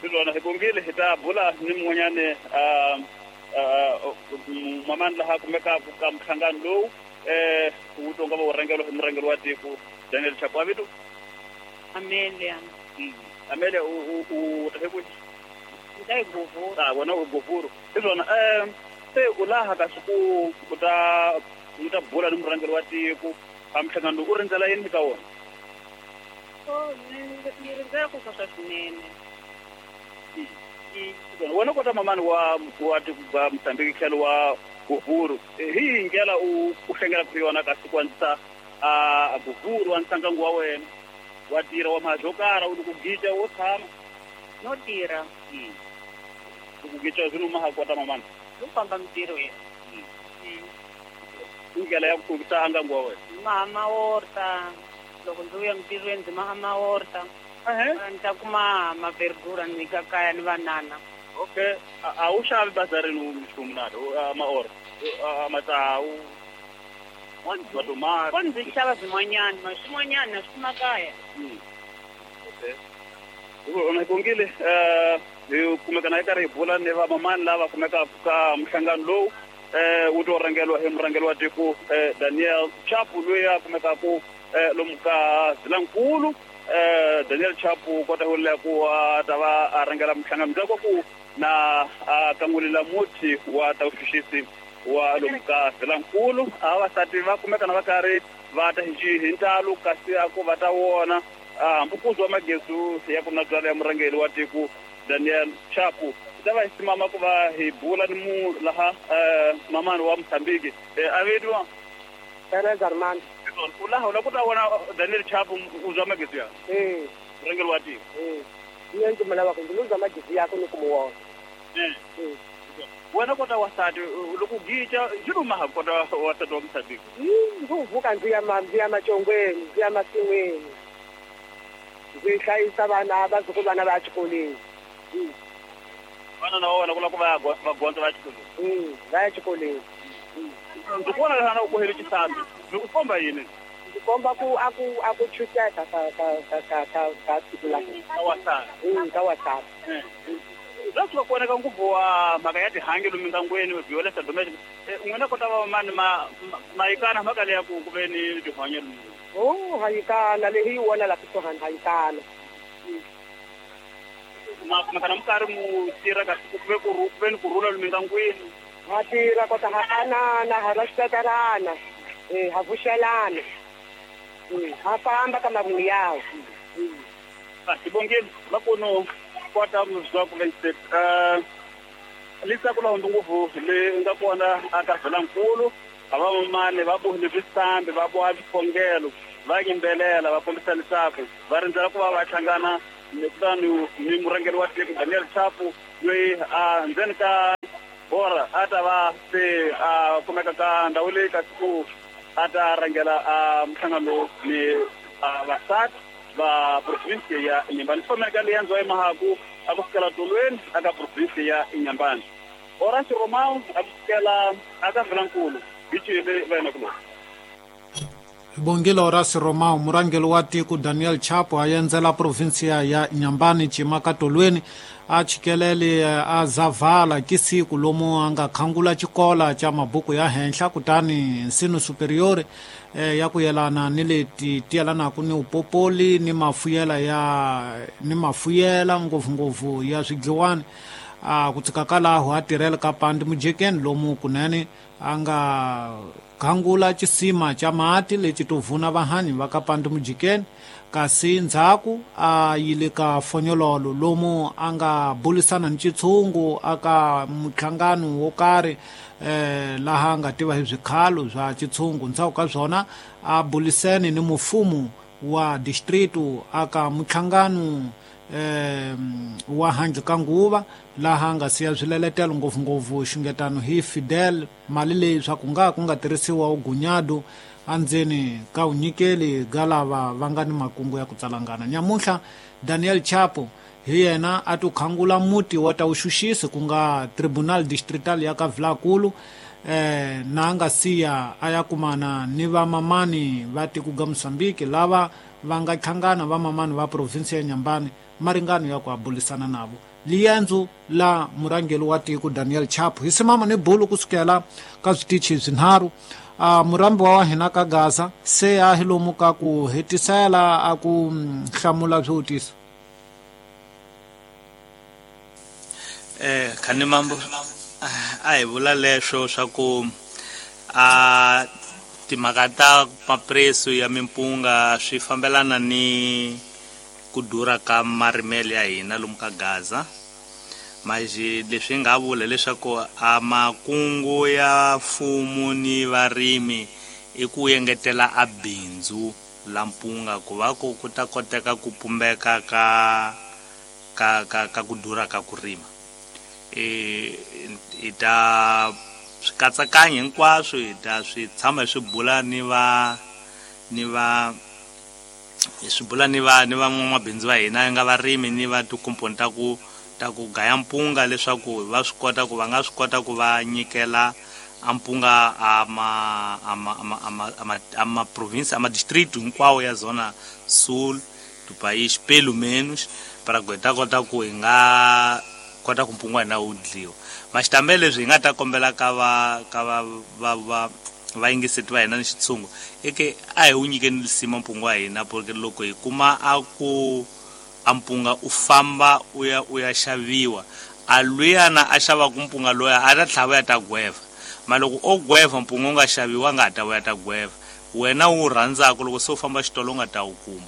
Silona hi bongile hi ta bula ni mun'wanyani mamani laha kumeka ka mhlangano lowu eh wu tonga va wu rhangeriwa hi murhangeri wa tiko Daniel Chapo. A vito? Amelia. Amelia u u ta hi kwihi? Ni ta hi Govuru. Ah wena u Govuru. Hi swona eh se u laha kasi ku u ta u ta bula ni murhangeri wa tiko a mhlangano u rindzela yini ka wona? Oh, ni rindzela ku swa swinene. Wena kota mamani wa wa tiko ra Mozambique tlhelo wa Govuru hi ndlela u u hlengela ku yona kasi ku andzisa a Govuru wa ntsangango wa wena wa tirha wa mhazo karha u ku gica wo tshama no tirha ku gica swi numa ha kota mamani u famba mintirhweni ndlela ya ku hluvukisa angango wa wena mama orta loko ndzi vuya mintirhweni ndzi maha maorta ni ta kuma maverdura ni ka kaya ni vanana. Okay, a wu xavi bazarini nchumu na maorta matsawu matomati? Ko ndzi xava swin'wanyana ma swin'wanyana na swi kuma kaya. Okay, hi bongile hi kumeka na hi karhi hi bula ni vamamani lava kumekaka ka mhlangano lowu eh wu to rhangeriwa hi murhangeri wa tiko Daniel Chapo loyi a kumekaku lomu ka Vilankulu. Eh Daniel Chapo kota ku le ku a ta va a rhangela mhlangano ndzhaku ku na a kangulela muti wa ta vuxuxisi wa lomu ka Vilankulu. A vavasati va kumeka na va karhi va ta hi hi ntalo kasi a ku va ta wona hambi ku zwa magezi ya ku na byala ya murhangeri wa tiko Daniel Chapo. Hi ta va hi simama ku va hi bula ni mu laha mamani wa Mozambique a vitiwa Teresa Armando. U laha u la ku ta vona Daniel Chapo u zwa magezi ya? Eh. Murhangeri wa tiko. Eh. Mina ndzi mu lavaka ndzi lo zwa magezi yakwe ni ku mu vona. Eh. Wena kota wasati loko gica xi numa ha kota wasati wa Mozambique? Ndzi vuka ndzi ya ndzi ya macongweni ndzi ya masin'wini ndzi hlayisa vana vazukulwana va ya xikolweni. Vana na wona ku lava ku va va gondza va ya xikolweni? Va ya xikolweni. Ndzi ku vona laha u bohele xisambi ndzi ku komba yini? Ndzi komba ku a ku a ku chucheka ka ka ka ka ka ka siku la ka wasati. Ka wasati. Bya swi va koneka ngopfu wa mhaka ya tihangi lomu mindyangwini violence domestic. N'wina kota va mani ma mayikana mhaka leya ku ku ve ni tihanya lomu? Oh, hayikana leyi hi wona la kusuhani hayikana. Ma kumeka na mi karhi mu tirha kasi ku ve ku ve ni ku rhula lomu mindyangwini? Ha tirha kota ha anana ha respectarana eh ha vuxelana ha famba ka mavungu yawo. Ah sibongile makuno kota muzwa ku ve eh lisa kula ngopfu le nga kona aka Vilankulu a va mamani va bohile swisambi va boha swikhongelo va yimbelela va kombisa leswaku va rindzela ku va va hlangana kutani ni murhangeri wa tiko Daniel Chapo loyi a ndzeni ka bora a ta va se a kumeka ka ndhawu leyi kasi ku a ta rhangela a minhlangano ni vasati va province ya Inhambane. Fomeka leyi yandziwa emahaku a ku fikela tolweni aka province ya Inhambane. Horacio Romão a ku fikela aka Vilankulu hi cile va yena kuloni. Bongile Horacio Romão, murhangeri wa tiko Daniel Chapo a endzela provinsia ya Inhambane cimaka tolweni a chikelele a zavala kisiku lomu a nga khangula xikola xa mabuku ya henhla kutani nsino superior eh, ya ku yelana ni leti ti yelanaka ni upopoli ni mafuyela ya ni mafuyela ngopfungopfu ya swidliwani. A ku tsika kalaho a tirhela ka pandi mujekeni lomu kunene a nga khangula xisima xa mati lexi to vuna vahanyi va ka pandi mujekeni, kasi ndzhaku a yile ka fonyololo lomu a nga bulisana ni xitshungu aka muhlangano wo karhi eh, laha a nga tiva hi swikhalo swa xitshungu. Ndzhaku ka swona a bulisene ni mufumu wa distritu aka muhlangano eh, wa handle ka nguva laha nga siya swileletelo ngopfungopfu xungetano hi Fidel mali leyi swa ku nga ku nga tirhisiwa ugunyado andzeni ka unyikeli ga lava va nga ni makungu ya ku tsalangana. Nyamuntlha Daniel Chapo hi yena a to khangula muti wa ta uxuxisi ku nga Tribunal Distrital ya ka Vilankulu eh, na nga siya a ya kumana ni vamamani va tiko ga Mozambique lava va nga hlangana vamamani va province ya Inhambane maringano ya ku abulisana navo. Liendzo la murhangeri wa tiko Daniel Chapo hi simama ni bulu kusukela ka switichi swinharhu. A murambi wa hina ka Gaza se a hi lomu ka ku hetisela a ku hlamula swivutiso. Eh khani mambo a hi vula leswo swa ku a timhaka ta mapreso ya mimpunga swi fambelana ni ku durha ka marimelo ya hina lomu ka Gaza. Maji leswi nga vula leswaku a makungu ya mfumo ni varimi i ku engetela a bindzu la mpunga ku va ku ku ta koteka ku pumbeka ka ka ka ka ku durha ka ku rima. E i ta swi katsakanya hinkwaswo hi ta swi tshama hi swi bula ni va ni va hi swi bula ni va ni van'wamabindzu va hina nga varimi ni va tikomponi ta ku ta ku gaya mpunga leswaku va swi kota ku va nga swi kota ku va nyikela a mpunga a ma a ma a ma a ma a ma province a ma distrito hinkwawo ya zona sul do país pelo menos para ku hi ta kota ku hi nga kota ku mpunga wa hina wu dliwa. Maxitambe leswi hi nga ta kombela ka va ka va va va vayingiseti va hina ni xitshungu i ke a hi wu nyikeni lisima mpunga wa hina, porque loko hi kuma a ku a mpunga u famba u ya u ya xaviwa a luyana a xavaku mpunga loya a ta tlhava ya ta gweva. Ma loko o gweva mpunga u nga xaviwa nga ta vuya ta gweva wena wu rhandzaka loko se u famba xitolo u nga ta wu kuma.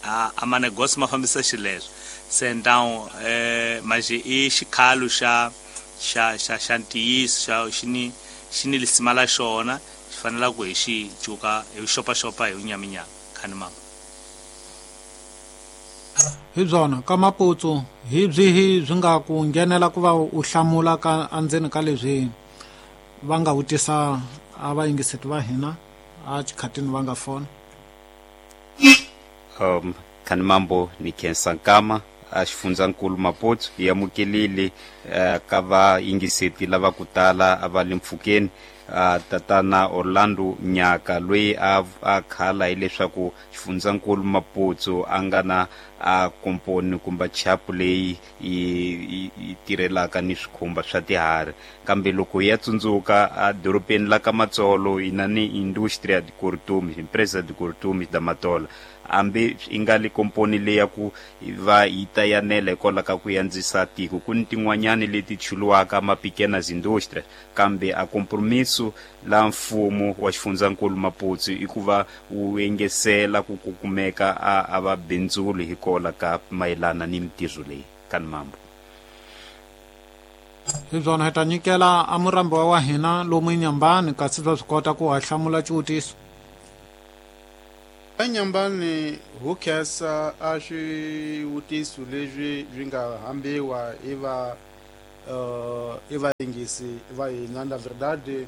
A a manegosi ma fambisa xileswo se então eh maje i xikhalo xa xa xa xa ntiyiso xa xi ni xi ni lisima la xona xi fanela ku hi xi cuka hi xopaxopa hi nyaminyami khani mama. Hi byona ka Maputsu hi byihi byi nga ku nghenela ku va u hlamula ka andzeni ka leswi va nga vutisa a vayingiseti va hina a xikhatini va nga fona. Um khani mambo ni khensa nkama a xifundzankulu Maputo hi amukelile uh, ka vayingiseti lava ku tala a va le mpfhukeni. Uh, tatana Orlando Nyaka loyi a a khala hileswaku xifundzankulu Maputo a nga na a komponi kumbe chapu leyi yi yi tirhelaka ni swikhumba swa tiharhi, kambe loko hi ya tsundzuka a dorobeni la ka Matsolo hi na ni Industria de Cortumes, Empresa de Cortumes da Matola, hambi i nga le komponi leyi ya ku va yi ta yanela hikwalaho ka ku yandzisa tiko. Ku ni tin'wanyani leti chuluwaka mapequenas indústrias, kambe a compromisso la mfumo wa xifundzankulu Maputo i ku va wu engesela ku ku kumeka a a va bindzuli hikwalaho ka mayelana ni mintirho leyi kan mambo. Hi byona hi ta nyikela a murambi wa hina lomu Inhambane kasi va swi kota ku ha hlamula xivutiso. Enyambani hu khensa a swivutiso leswi swi nga hambiwa hi va uh, i vayingisi va hina. Na verdade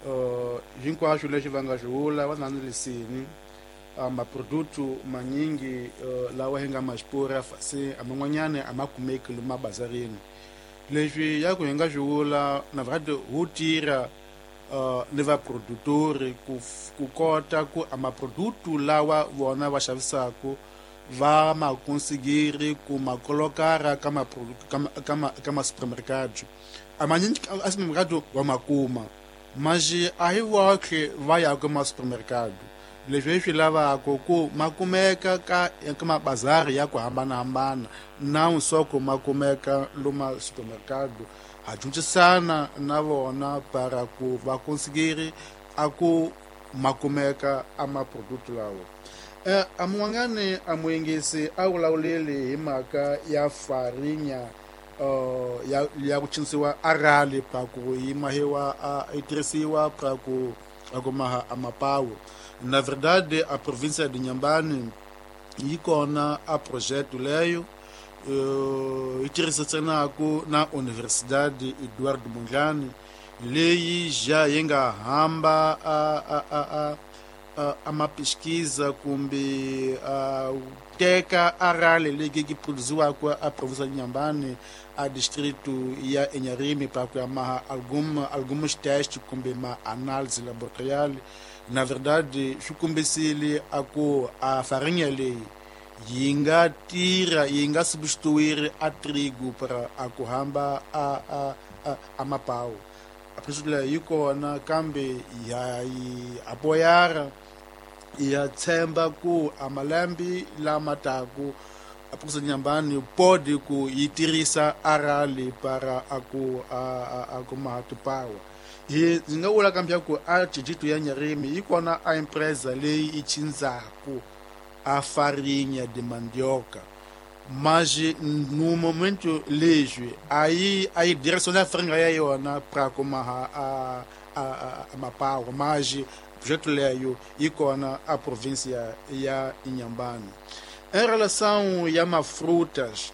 uh, hinkwaswo leswi va nga swi vula va na lisini. Uh, maproduto manyingi uh, lawa hi nga ma xipura se a man'wanyana a ma kumeki lomu mabazarini. Leswi ya ku hi nga swi vula na verdade hu tirha Uh, ni vaprodutori ku, ku kota ku a maproduto lawa vona va xavisaku va ma konsigiri ku ma kolokara ka ma ka ma ka ma supermercado. A manyingi a supermercado wa ma kuma, mas a hi voxe va ya ka ma supermercado. Leswi hi swi lavaka ku ma kumeka ka ka mabazari ya ku hambanahambana na nsoko ma kumeka loma supermercado. Ha dyondzisana na vona para ku va konsigiri a ku ma kumeka a maproduto lawa. Eh, a mun'wanyani a muyingisi a vulavuleli hi mhaka ya farinha uh, ya, ya ku cinisiwa arali pa ku yi mahiwa a yi tirhisiwa pa ku a ku maha a mapawu. Na verdade a província de Inhambane yi kona a projeto leyo uh, yi tirhisanaku na Universidade Eduardo Mondlane leyi já yi nga hamba a, a, a, a, a, a ma pesquisa kumbe a teka arali leyi yi produziwaka a província de Inhambane a distrito ya Inharime para ku maha algum, alguns testes kumbe ma análise laboratorial. Na verdade swi kombisile a ku a farinha leyi yi nga tirha yi nga substituir a trigo para a ku hamba a, a, a, a mapawu. A projeto leyi yi kona kambe ya yi apoyara ya tshemba ku a malembe lama taku a província de Inhambane pode ku yi tirhisa arali para a ku a, a, a ku maha tipawa. Hi ndzi nga vula kambe ku a distrito ya Inharime yi kona a empresa leyi yi cincaku a farinha de mandioca, mas no momento leswi a yi a yi direciona a farinha ya yona para ku maha a, a, a, a mapawa, mas projeto leyo yi kona a província ya Inhambane. Em relação a ma frutas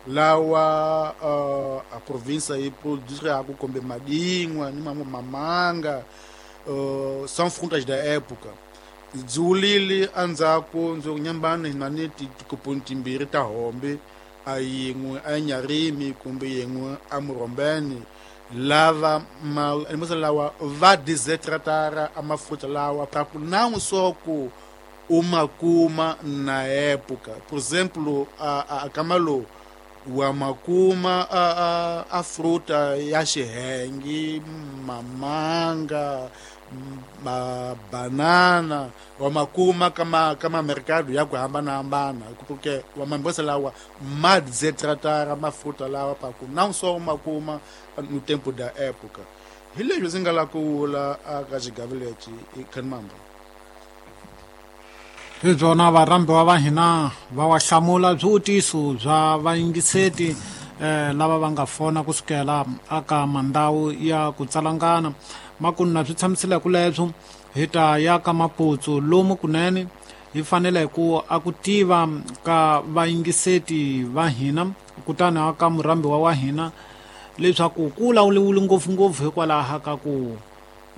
lawa uh, a província yi produziraka kumbe madingwa ni mamanga uh, são frutas da época. Ndzi wulile endzhaku ndzi ku Inhambane na ni tikoponi timbirhi ta hombe, a yin'we a Inharime kumbe yin'we a Murombeni, lava ma lawa va desertara a mafruta lawa para ku não só ku uma kuma na época. Por exemplo, a, a, a Camalo wa makuma a, a, a fruta ya xihenge, mamanga, ma banana, wa makuma kama kama mercado ya ku hambanahambana, porque wa mambosa lawa ma desertara mafruta lawa para ku não só makuma no tempo da época. Hi leswi ndzi nga la ku vula aka xigavi lexi i Khanimamba. Hi byona varhambiwa va hina va wa hlamula swivutiso bya vayingiseti eh, lava va nga fona kusukela aka mandhawu ya ku tsalangana. Makunu na swi tshamisile ku leswo hi ta ya ka Maputsu lomu kunene hi fanele ku a ku tiva ka vayingiseti va hina kutani aka murhambiwa wa hina leswaku ku lawuliwile ngopfungopfu hikwalaho ka ku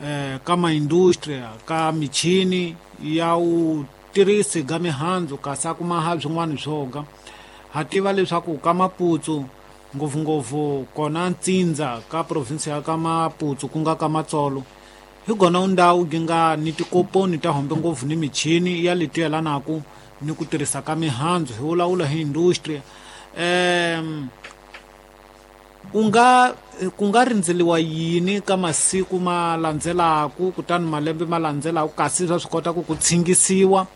eh, ka maindustria ka michini ya u tirhisi ga mihandzu kasi a kuma ha swin'wana swoga. Ha tiva leswaku ka Maputsu ngopfungopfu kona ntsindza ka provinsi ya ka Maputsu ku nga ka Matsolo hi gona ndhawu yi nga ni tikoponi ta hombe ngopfu ni michini ya leti yelanaku ni ku tirhisa ka mihandzu hi vulavula hi industria. Um ku nga ku nga rindzeliwa yini ka masiku ma landzelaku kutani malembe ma landzelaku kasi swa swi kota ku ku tshingisiwa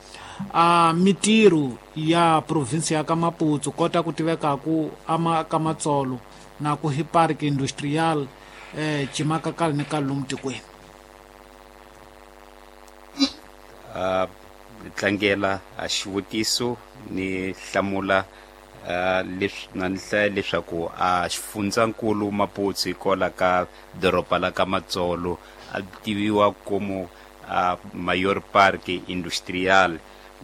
a mitirho ya provinsi ya ka Maputsu kota ku tivekaku ama ka Matsolo na ku hi park industrial eh cimaka kale ni ka lomu tikweni. Uh, tlangela a xivutiso ni hlamula uh, leswi na ni hlaya leswaku a xifundzankulu Maputsu hikwalaho ka doroba la ka Matsolo a tiviwa como a mayor parque industrial.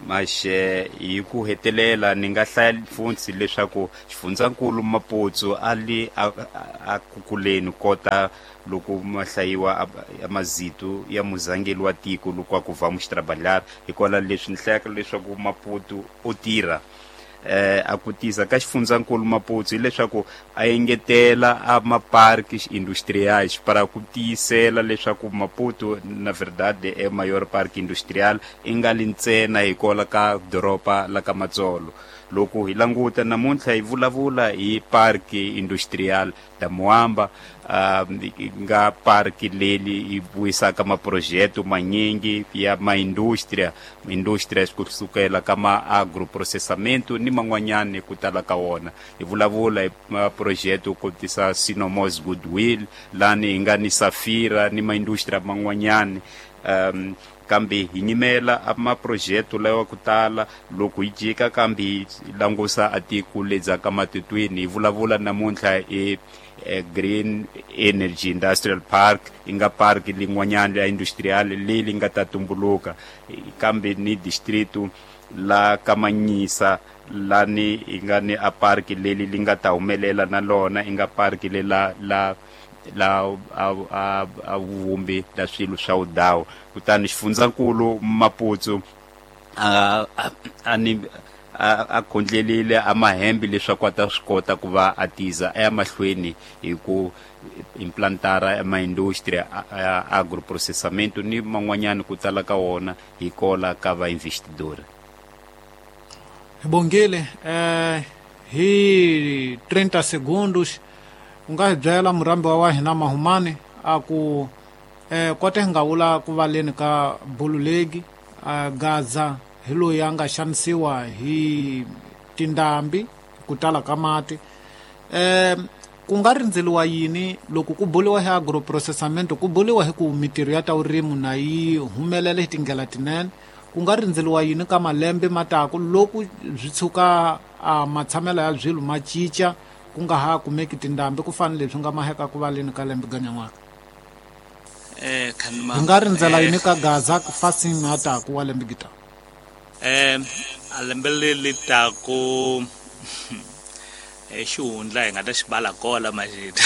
Maxe hi ku hetelela ni nga hlaya funtsi leswaku xifundzankulu Maputo a li a, a kukuleni kota loko mahlayiwa amazito ya muzangeli wa tiko loko a ku vamos trabalhar hikwalaho leswi ni hlayaka leswaku Maputo o tirha eh a kutisa ka xifundzankulu Maputo hileswaku a engetela a maparques industriais para ku tiyisela leswaku Maputo na verdade é maior parque industrial i nga li ntsena hikwalaho ka doroba la ka Matsolo. Loko hi languta namuntlha hi vulavula hi parque industrial da Moamba, uh, nga parque leli yi vuyisaka maprojeto manyingi ya maindustria industria kusukela ka ma agroprocessamento ni man'wanyani ku tala ka wona. Hi vulavula hi maprojeto ku tisa Sinomos Goodwill lani hi nga ni Safira ni maindustria man'wanyani. um, kambe hi nyimela a maprojeto lawa ku tala loko hi jika kambe hi langusa a tiko ledzaka matitweni hi vulavula namuntlha hi Green Energy Industrial Park i nga park lin'wanyana ya industrial leyi nga ta tumbuluka kambe ni distrito la Kamanyisa lani i nga ni a park leli li nga ta humelela na lona i nga park le la la la a a a vumbi la swilo swa udawu. Kutani xifundzankulu Maputo a a ni a khondlelile a mahembe leswaku a ta swi kota ku va a tiza a ya mahlweni hi ku implantara maindustria a agroprocessamento ni man'wanyani ku tala ka wona hi kola ka vainvestidori. Hi bongile eh hi thirty segundos u nga hi byela murambi wa hina Mahumani a ku eh kote nga vula ku valeni ka bululegi a Gaza hi loyi a nga xanisiwa hi tindhambi ku tala ka mati. Eh ku nga rindzeliwa yini loko ku buliwa hi agroprocessamento, ku buliwa hi ku mitirho ya ta vurimi na yi humelela hi tindlela tinene, ku nga rindzeliwa yini ka malembe mataku loko byi tshuka a matshamelo ya byilo ma cinca ku nga ha kumeki tindhambi ku fana leswi nga maheka ku valeni ka lembe ganyan'waka? Eh khanima hi nga rindzela yini ka Gaza ku fasini na taku wa lembe gita? Eh a lembe leri taku eh xihundla hi nga ta xibala kola majita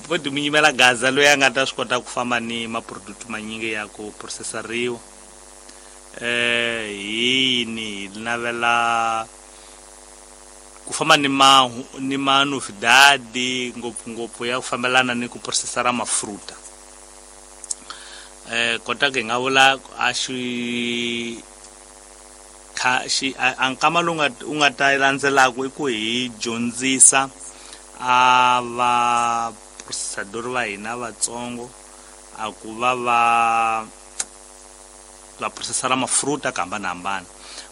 poti mi nyimela Gaza loyi a nga ta swi kota ku famba ni maproduct manyingi ya ku processariwa. Eh yini hi navela ku famba ni ma ni manovidade ngopfungopfu ya ku fambelana ni ku processara mafruta. Eh kota ke nga vula a xi kha xi a nkama lowu nga u nga ta landzelaka i ku hi dyondzisa a va processador va hina vatsongo a ku va va va processara mafruta ka hambanahambana.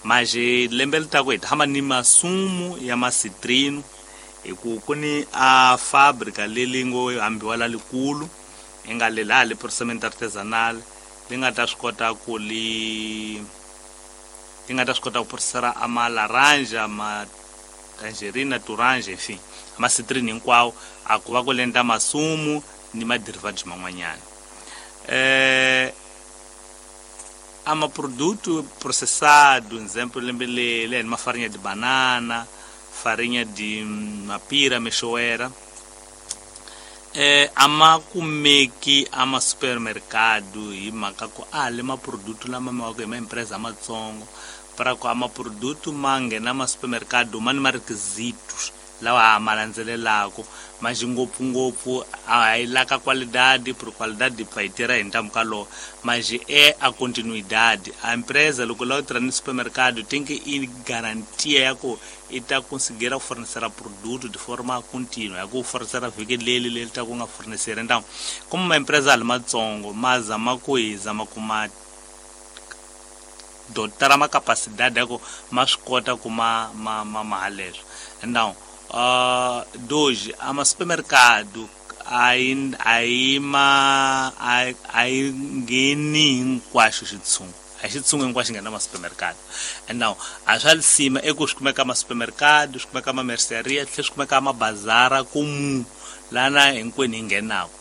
Maje lembe li taku hi tshama ni masumu ya masitrino hi ku ku ni a fabrica leli ngo hambiwa la likulu i nga le laha le processamento artesanal li nga ta swi kota ku li li nga ta swi kota ku processara a ma laranja ma tangerina turange enfin ma citrine hinkwawo a ku va ku lenda masumu ni ma derivatives man'wanyana. Eh ama produto processado, exemplo lembe le ma farinha de banana, farinha de mapira, mexoera, eh ama kumeki ama supermercado hi mhaka ku a le ma produto lama ma wa ma empresa matsongo para ku ama produto ma nghena ma supermercado ma ni ma requisitos lawa ma landzelelaka mas ngopfungopfu a hi laka qualidade por qualidade va yi tirha hi ntamu ka lowo mas é a continuidade a empresa loko la u tirha ni supermercado tem que i garantia ya ku i ta conseguir fornecer produto de forma contínua ya ku fornecer vhiki leli leri ta ku nga fornecer. Então como uma empresa ali matsongo ma zama ku hi zama ku ma dotara ma capacidade ya ku ma swi kota ku ma ma ma ma haleswo. Então Uh, dois, ama supermercado a yi ma a yi ngheni hinkwaxo xitshungu a xitshungu hinkwaxo nghena ma supermercado. And now a swa lisima eku swi kumeka ma supermercado swi kumeka ma merceria tlhe swi kumeka ma bazara kumu lana hinkwenu hi nghenaka.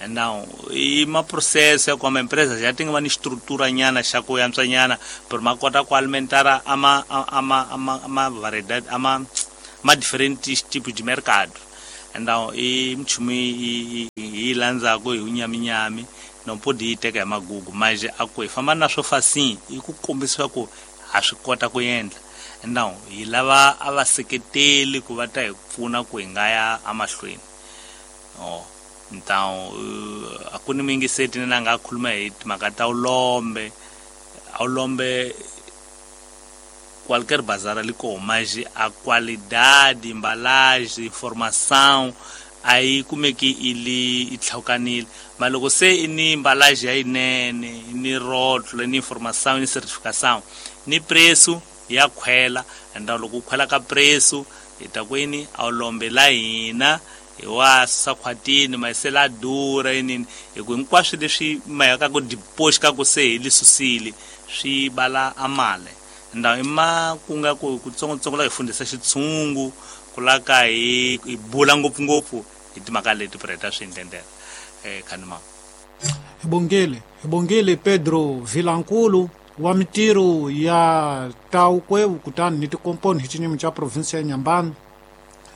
Então i ma processo ya ku ama empresa já tem uma estrutura nyana xa ku yantswa nyana pero ma kota ku alimentar ama ama ama ama variedade ama ma diferentes tipos de mercado. Então i mchumu i i landzaku hi unyaminyami não pode ir teka hi magugu mas a ku hi famba na swo fasin i ku kombisa ku ha swi kota ku endla. Então hi lava a va seketeli ku va ta hi pfuna ku hi nga ya amahlweni. Oh então a ku ni mingiseti na nga khuluma hi timhaka ta ulombe ulombe qualquer bazar ali com mas a qualidade, embalagem, informação aí como é que ele itlhaukanile mas loko se ni embalagem ya yinene ni rótulo ni informação ni certificação ni preço ya khwela. Então loko ku khwela ka preço hi ta kwini a ulombe la hina hi wa susa khwatini mayisela dura yinini hi ku hinkwaswo leswi mayaka ku deposit ka ku se hi li susile swi bala amale. Então i ma ku nga ku kutsongotsongo la hi fundisa xitshungu ku la ka hi hi bula ngopfungopfu hi timhaka leti preta swi ndlendlela eh khanima. Hi bongile hi bongile Pedro Vilankulu wa mitirho ya Taukwevu kutani ni tikomponi hi xinyimi xa province ya Nyambani.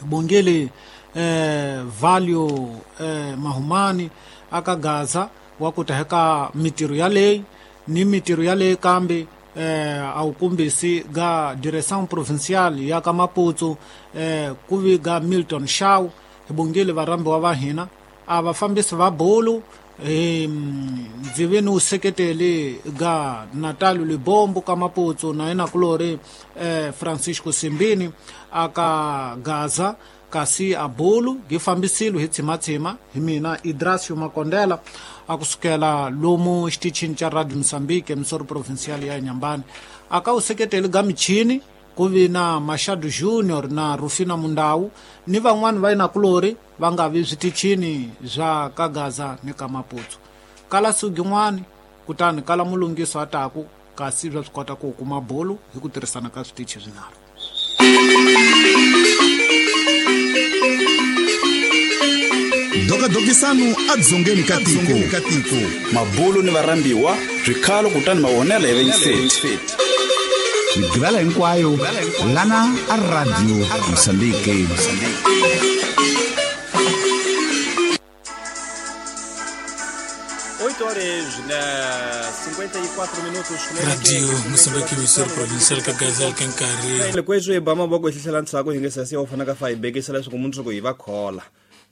Hi bongile eh Valio eh Mahumani aka Gaza wa ku ta heka mitirho ya leyi ni mitirho ya leyi kambe eh a wu kumbisi ga direção provincial ya ka Maputo eh ku vi ga Milton Shaw. Hi bongile varhambiwa va hina a vafambisi va bolo eh ndzi ve ni wu seketeli ga Natalio Libombo ka Maputo na yena kulori eh Francisco Simbini aka Gaza kasi a bolo gi fambisile hi tshimatsima hi mina Idrasio Makondela a kusukela lomu xitichini xa Radio Mozambique emisoro provincial ya Nyambani. Aka wu seketeli ga michini ku vi na Machado Junior na Rufina Mundau ni van'wani va yina kulori va nga vi switichini swa ka Gaza ni ka Maputo. Kala sugin'wani kutani kala mulungiso a taku kasi swa swi kota ku kuma bolo hi ku tirhisana ka switichi swinharhu. Dokadokisano adzongeni ka tiko mabulu ni varhambiwa swikhalo kutani mavonelo ya vayingiseti migivela hinkwayo lana a Radio Mozambique. oito horas na cinquenta e quatro minutos. Radio Mozambique emissora provincial ka Gaza ka nkarhi loko hi ba mavoko hi hlohlela ntsako hi nge sasi wa fana ka fa hi bekisa leswaku mundzuku hi va khola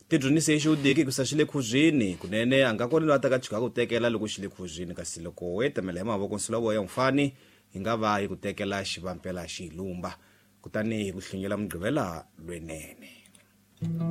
tidyonise xi udiki ku sa xi le khuzini kunene a nga kona loyi a ta ka chika ku tekela loko xi le khuzini kasi loko wo tamela hi mavoko nsula wa ya mfani hi nga va hi ku tekela xivampela xi lumba kutani hi ku hlunyela mugqivela lwenene.